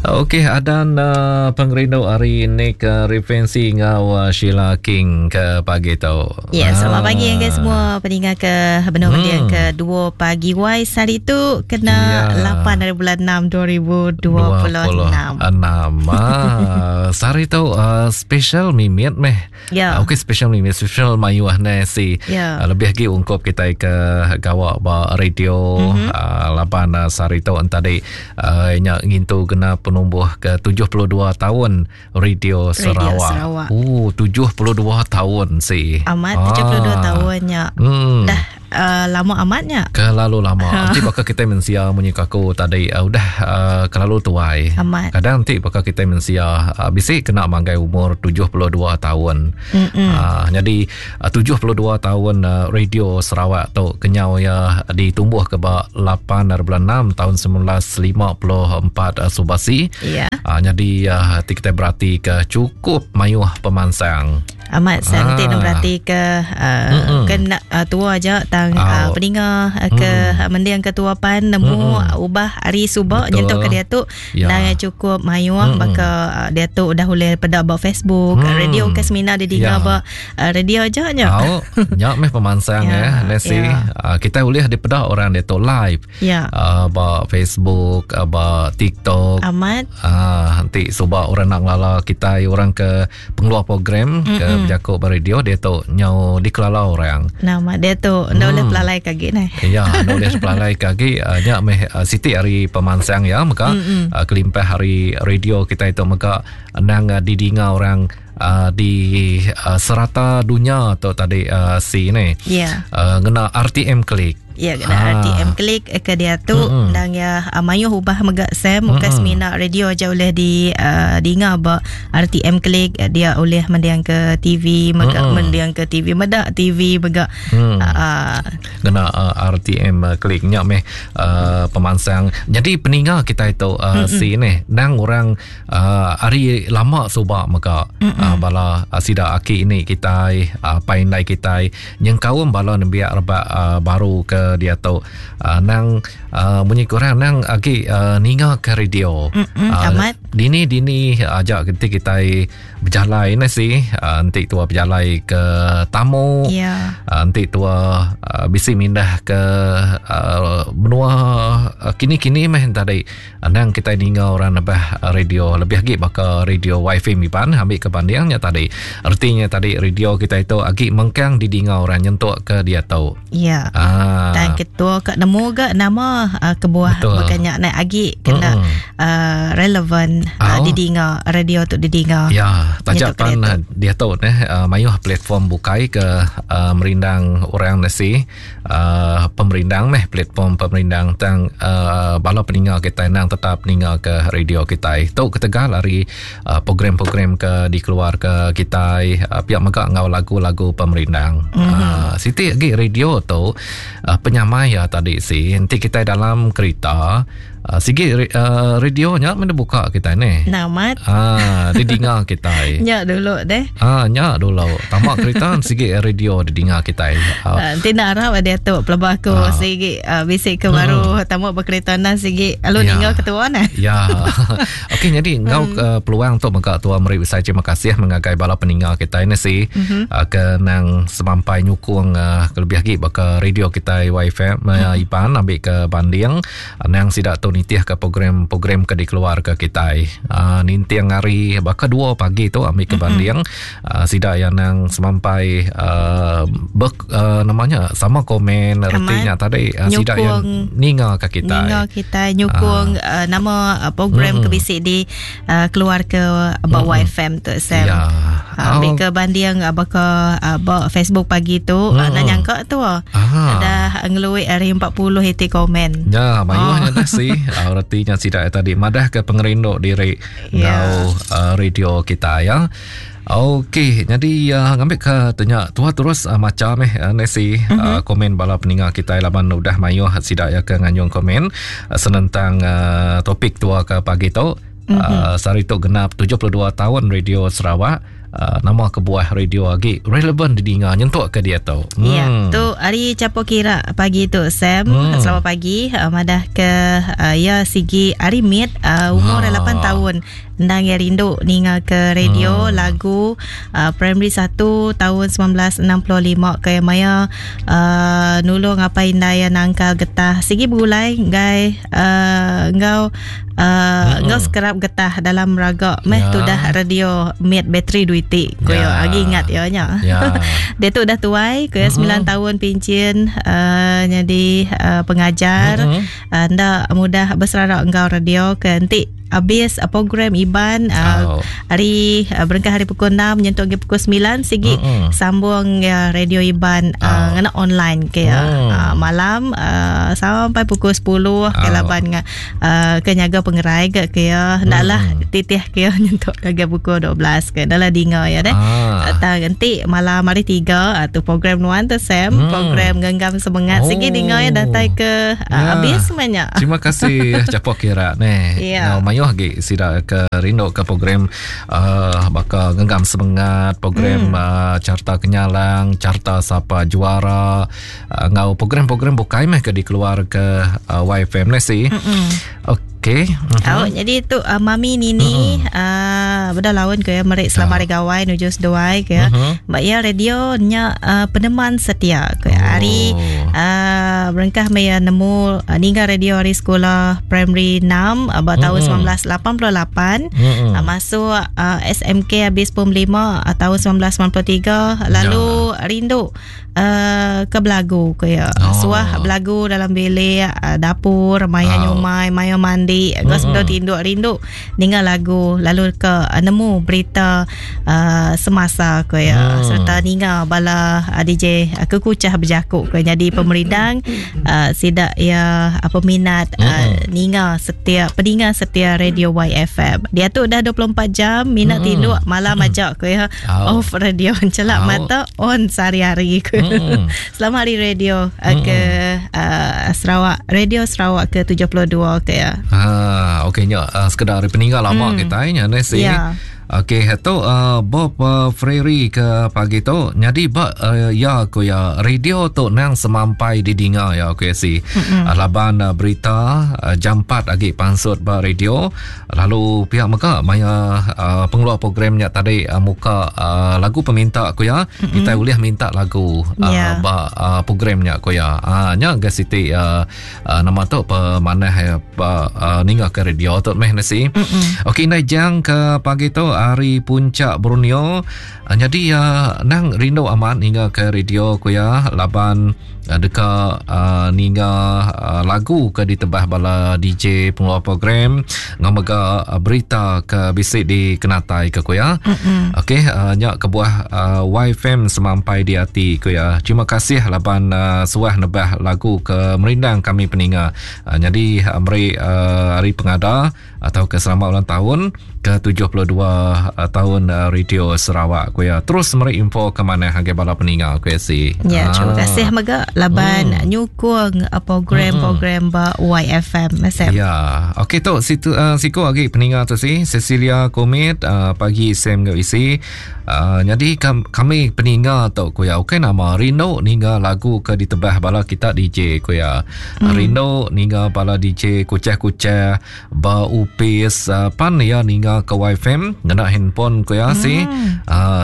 Okey, adan uh, pengerindu hari Nick uh, Referensi enggau uh, Sheila King ke pagi tu. Ya, selamat ah. pagi guys semua peninga ke benar hmm. ke 2 pagi wai hari tu kena ya. 8 hari bulan 6 2026. 26. Ah, sehari tu uh, special mimit meh. Ya. Uh, Okey special ni special mayuh ne si. Ya. Uh, lebih lagi ungkup kita ke gawa ba radio mm -hmm. uh, laban uh, sehari tu tadi uh, nya ngintu kena penumbuh ke 72 tahun Radio Sarawak. Radio Sarawak. Oh 72 tahun si. Amat ah. 72 tahunnya. Hmm. Dah uh, lama amatnya. Kelalu lama. Nanti bakal kita mensia munyi aku tadi uh, udah uh, kelalu tuai. Amat. Kadang nanti bakal kita mensia uh, bisi kena manggai umur 72 tahun. Uh, jadi uh, 72 tahun uh, radio Sarawak tu kenyau ya ditumbuh ke ba 8 hari bulan 6 tahun 1954 uh, subasi. Ya. Uh, jadi uh, kita berarti ke cukup mayuh pemansang. Amat santik Ah. ah. berarti ke uh, kena uh, tua aja tang uh, Au. peninga uh, ke mm. mending ke tua pan nemu mm. ubah hari subak Betul. nyentuk ke dia tu Ya. nang cukup mayuh mm. baka uh, dia tu udah boleh peda ba Facebook mm. radio ke semina dia Ya. dengar ba uh, radio aja nya. Au, nyak meh pemansang Ya, ya, Nancy. ya. Uh, kita boleh dipedak orang dia tu live. Ya. Uh, ba Facebook, uh, ba TikTok. Amat Ah, nanti subak orang nak ngelala kita orang ke pengeluar program mm ke berjakuk ba radio dia tu nyau dikelala orang. nama dia tu ndak boleh pelalai kaki nah. Ya, nak boleh pelalai kaki uh, nyak meh uh, siti hari pemansang ya maka uh, kelimpah hari radio kita itu maka nang uh, didinga orang uh, di uh, serata dunia tu tadi uh, si ni. Ya. Uh, ngena RTM klik. Ya kena Ah. RTM klik eh, ke dia tu mm dan ya uh, mayuh ubah mega Sam bukan semina radio aja boleh di uh, dinga ba RTM klik eh, dia boleh mendiang ke TV mega mm mendiang ke TV medak TV mega Mm. uh, uh, Ngena uh, RTM uh, klik nyak meh uh, pemansang. Jadi peninga kita itu uh, si ni nang orang uh, hari lama subak mega uh, bala uh, sida aki ini kita uh, paindai kita nyengkaum bala nembiak rebak uh, baru ke dia tu uh, nang uh, munyi kurang nang agi uh, ninga ke radio. Mm-mm, Ah, amat. Dini dini ajak nanti kita berjalan ni si uh, nanti tua berjalan ke tamu. ya Uh, nanti tua uh, bisi mindah ke uh, menua uh, kini-kini meh tadi uh, nang kita ninga orang nebah uh, radio lebih lagi baka radio wifi miban ambil ke bandingnya tadi artinya tadi radio kita itu agi mengkang didinga orang nyentuk ke dia tu ya ah Dan ketua kat nemu ga nama uh, kebuah Betul. bukannya naik agi kena Mm-mm. uh, relevan uh, Oh. didinga radio tu didinga. Ya, tajak Nyentuk ke pan dia tu neh uh, mayuh platform bukai ke uh, merindang orang nasi uh, pemerindang meh platform pemerindang tang uh, bala peninga kita nang tetap ninga ke radio kita. Tu ketegal hari uh, program-program ke dikeluar ke kita uh, pihak mega ngau lagu-lagu pemerindang. Mm-hmm. Uh, siti lagi radio tu uh, penyamai ya tadi si nanti kita dalam kereta uh, sigi uh, radionya mana buka kita ni. Namat Ah, didinga kita. nya dulu deh. Ah, nya dulu. Tamak kereta sigi radio didinga kita. Ah, Uh, nanti nak harap dia tu pelabah aku Ah. sigi uh, bisik ke baru tamu berkereta nah sigi alu Ya. ninggal ketua nah. Ya. Okey jadi ngau uh, peluang tu mega tua meri besai terima kasih mengagai bala peninga kita ini si mm-hmm. uh, ke nang semampai nyukung uh, kelebih lagi baka radio kita YFM uh, Iban ambil ke banding uh, nang sidak tu nitih ke program-program ke dikeluar ke kita. Uh, ninting hari baka 2 pagi tu ambil ke banding uh, sidak yang nang semampai uh, ber, uh, namanya sama komen ertinya tadi uh, sidak yang Nyukung. ninga ke kita. Ninga kita nyukung uh, nama uh, program mm. ke bisik di uh, keluar ke bawah mm. FM tu Sam. Ya. Uh, ambil ke banding uh, baka uh, ba Facebook pagi tu mm. uh, nak nyangka tu uh, Ah. dah ngeluik hari 40 iti komen. Ya, mayuhnya oh. dah si. Uh, retinya sidak tadi madah ke pengerindu diri Ya. ngau uh, radio kita ya. Okey, jadi uh, ngambil ke tanya tua terus uh, macam eh uh, Nesi mm-hmm. uh, komen bala peninga kita laban udah mayuh sidak ya ke nganyung komen uh, senentang uh, topik tua ke pagi tu. Mm-hmm. Uh, sehari tu genap 72 tahun Radio Sarawak. Uh, nama kebuah radio agi relevan didinga nyentuk ke diatu. Hmm. Ya, tu hari capo kira pagi tu Sam. Selamat pagi. Madah ke ya sigi hari mid umur 8 tahun. Endang ya rindu ninga ke radio lagu primary 1 tahun 1965 ke maya nulung apa indai ya nangkal getah sigi begulai ngai enggau enggau sekerap getah dalam raga meh ya. Tudah radio mid bateri duiti ko ya. Agi ingat ya nya. Ya. Dia tu dah tuai ko ya 9 tahun pincin jadi pengajar nda mudah beserara enggau radio ke enti habis program Iban hari berengkah hari pukul 6 nyentuk ke pukul 9 sigi sambung ya radio Iban ngena online ke ya. Malam sampai pukul 10 ke laban ke nyaga pengerai ke ke ya ndaklah titih ke ya nyentuk ke pukul 12 ke dalam dinga ya deh. Tang enti malam hari 3 tu program nuan tu Sam, program genggam semangat sigi dinga ya datai ke habis semuanya. Terima kasih capok kira ne. Yeah. Mayuh agi sida ke rindu ke program baka genggam semangat, program carta kenyalang, carta sapa juara, ngau program-program bukai meh ke dikeluar ke YFM ni si. Okey. Oh, jadi tu Mami Nini beda lawan ke merik selamat hari gawai nuju seduai ke. Ba ya radio nya peneman setia ke. Hari berengkah maya nemu ninggal radio hari sekolah primary 6 ba tahun 1988 masuk SMK habis pom 5 tahun 1993 lalu rindu ke belagu ke ya. Suah belagu dalam bilik dapur maya nyumai maya mandi ngau sebelum tinduk rindu ninga lagu lalu ke nemu berita semasa ke ya. Serta ninga bala DJ kekucah berjakuk ke jadi pemerindang sidak ya peminat ninga setia peninga setia radio YFM. Dia tu dah 24 jam minat tinduk malam aja ke ya. Off radio celak mata on sehari-hari. Selamat hari radio ke Sarawak, Radio Sarawak ke 72 ke ya. Ha, okey nya sekedar peninggal lama kita nya ne si. Yeah. Okey, tu Bob Freri ke pagi tu. Jadi ba ya ko ya radio tu nang semampai didinga ya okey si. Laban berita jam 4 agi pansut ba radio. Lalu pihak mega maya pengeluar programnya tadi muka lagu peminta ko ya. Kita boleh minta lagu ba programnya ko ya. Nya ga siti nama tu pemanah ninga ke radio tu meh nasi. Okey indai jang ke pagi tu hari puncak Borneo. Jadi nang rindu amat ninga ke radio ko ya laban deka ninga lagu ke ditebah bala DJ pengeluar program ngau mega berita ke bisi dikenatai ke ko ya. Okey nya kebuah YFM semampai di hati ko ya. Terima kasih laban suah nebah lagu ke merindang kami peninga. Jadi meri hari pengada atau ke selamat ulang tahun ke 72 tahun Radio Sarawak ko ya. Terus meri info ke mana harga bala peninga ko ya si. Ya, terima kasih mega laban nyukung program-program ba YFM SM. Ya, okey tu situ siku lagi peninga tu si Cecilia Komit pagi Sam ngau isi. Jadi kami peninga tu ko ya. Okey nama rindu ninga lagu ke ditebah bala kita DJ ko ya. Rindu ninga bala DJ kucah-kucah ba upis pan ya ninga ke YFM ngena handphone ko ya si.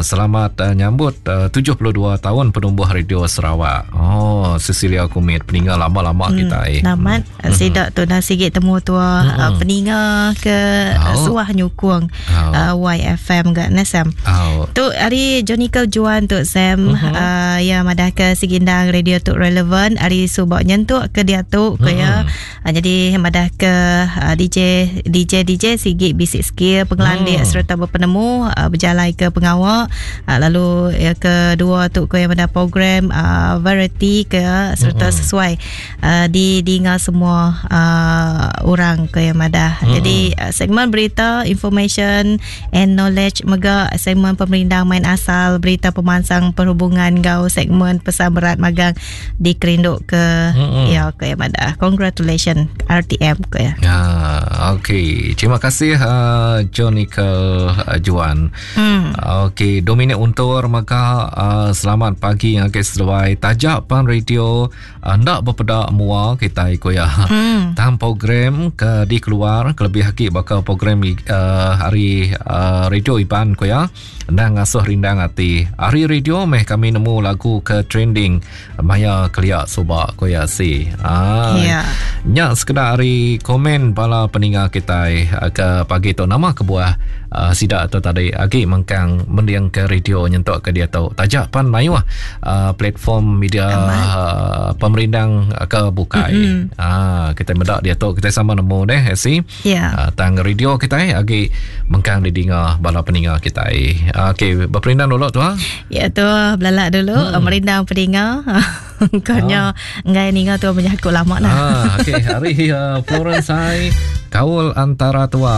Selamat nyambut 72 tahun penumbuh Radio Sarawak. Oh, Cecilia Kumit peninga lama-lama kita Namat sidak tu dah sikit temu tua peninga ke suah nyukung YFM gak ne Sam. Tu hari Johnny Juan tu Sam ya madah ke sigindang radio tu relevan hari subak nyentuk ke dia tu ke ya. Jadi madah ke DJ sigi bisik skill pengelandik serta berpenemu berjalai ke pengawal lalu ya kedua tu ke yang ada program variety ke serta sesuai didinga semua orang ke yang ada. Jadi segmen berita information and knowledge mega segmen pemerindang main asal berita pemansang perhubungan gau segmen pesan berat magang dikerinduk ke ya ke yang ada. Congratulations RTM ke ya. Ya, Okey, terima kasih uh, Jonica uh, Juan. Hmm. Okey, Dominic Untur maka uh, selamat pagi ngagai seduai. Tajak pan radio uh, ndak bepeda mua kita ko ya. Hmm. Tang program ke dikeluar kelebih agi baka program uh, hari uh, radio Iban ko ya. Endang ngasuh rindang ati. Ari radio meh kami nemu lagu ke trending maya kelia suba ko ya si. Ah. Yeah. Nya sekeda ari komen bala peninga kitai ah, ke pagi tu nama kebuah uh, sida tu tadi agi mengkang mending ke radio nyentuk ke diatu. Taja pan mayuh uh, platform media uh, pemerindang ke bukai. Mm-hmm. Ah kita meda diatu kita sama nemu deh si. Yeah. Uh, tang radio kitai agi mengkang didinga bala peninga kitai. Uh, Okey, berperindang dulu tu ha. Ya tu belalak dulu hmm. merindang peninga. Kau nya ah. ngai ninga tu menyaku lama nah. Ah, okey, hari uh, Florence hai kaul antara tua.